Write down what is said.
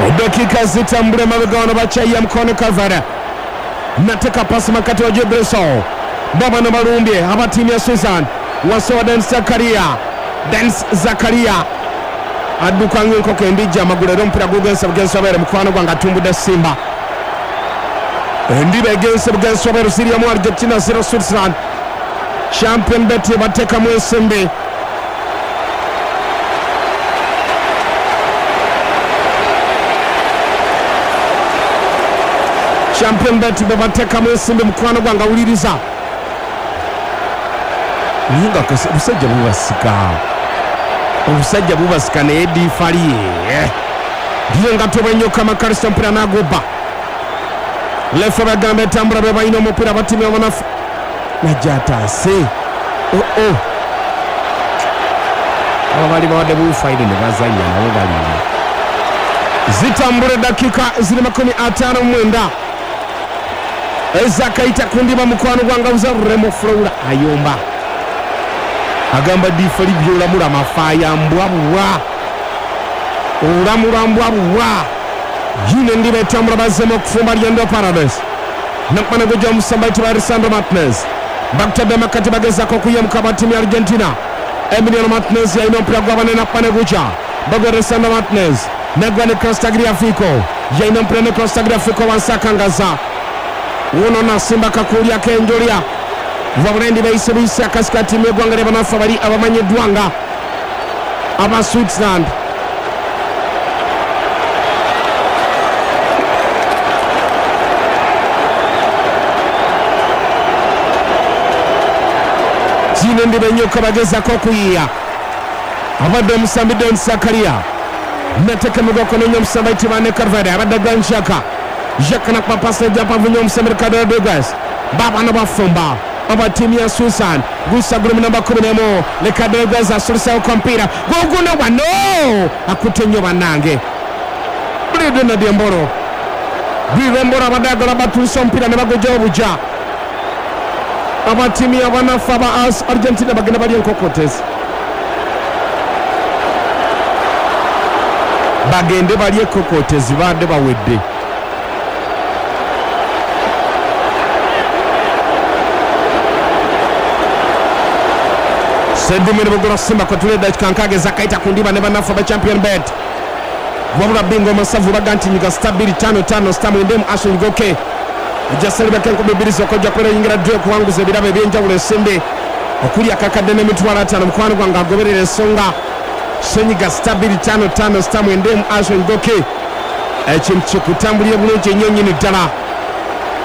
Eddakiika zitambula emabega wano bakyayiya mukono Kavara nateka pasi makati wa Jebreso babano balumbye aba ttiimu ya Switzerland wansi wa Denis Zakaria. Denis Zakaria adduka ng'enkoko embijja amagulu era omupiira gugenze bugenzi wabeere mukwano gwange atumbudde Simba. Endiba egenze bugenzi wabeere ziri emu Argentina 0 Switzerland. Champion Bet bateekamu ensimbi. Champion Bet bebateekamu ensimbi mukwano gwange awuliriza. Naye nga obusajja bubasika. Obusajja bubasika naye diifali ye. Ndiyo nga tobenyoka Makalisa omupiira n'agubba. Lefa bagamba etambula be balina omupiira battiimu y'abanafu. Najja ataase. Oh oh. Abo bali bawadde bufaire ne bazannya nabo baliira. Zitambula eddakiika ziri 59 ezakayita ku ndiba mukwano gwange abuza Remo Flora ayomba. Agamba diifali by'olamula mafaaya mbwa bubwa. Olamula mbwa bubwa. Yino endiba etambula bazzeemu okufumba Lyendo Paradise. Nakmana gujja omusamba ayitibwa Lisandro Martinez. Bakutadde makati bagezaako okuyemuka aba ttiimu ya Argentina. Emiliano Martinez yalina omupiira gw'abanene Nakmane gujja. Bagwa Lisandro Martinez. Nagwa Nicolas Tagliafico. Yalina omupiira Nicolas Tagliafico wansi akangaza. Wuno nasimba akakuuli ak'enjolya. Wabula endiba eyise buyisi akasika ttiimu y'eggwanga ly'abanafu abali abamanyiddwa nga aba Switzerland. Zino endiba ennyuka bagezaako okuyiiya. Abadde omusambi Don Sakaria nateka emigwako nenya omusambi ayitibwa ne Carvajal abadde Granit Xhaka. Xhaka nakuba pasi ejja mpanvu nnyo omusambi Ricardo Rodriguez. Baabano bafumba aba ttiimu ya Switzerland. Gusa guli mu namba 11 Ricardo Rodriguez asuliseewo ku mupiira guguno wano akutte nnyo bannange. Bridon Embolo. Bridon Embolo abadde ayagala batuuse omupiira ne bagujjawo bujja. Aba ttiimu y'abanafu aba Argentina bagenda balya enkokotezi. Bagende balye ekkokotezi baadde bawedde. Seddume ne Bugolo Simba kwe tuli eddakiika nkaaga ezakayita ku ndiba ne bannaffe aba Champion Bet. Wabula Bingo Masavu baga nti nyiga star bbiri ttaano ttaano star mwenda emu Ashley Ngoke. Ojja salibako 2000 zokka ojja kubeera oyingira ddi okuwanguza ebirabo eby'enjawulo ensimbi okuli akakadde n'emitwalo 50 mukwano gwange agoberera ensonga. Senyiga star bbiri ttaano ttaano star mwenda emu Ashley Ngoke. Ekintu kikutambulire bulungi nnyo nnyini ddala.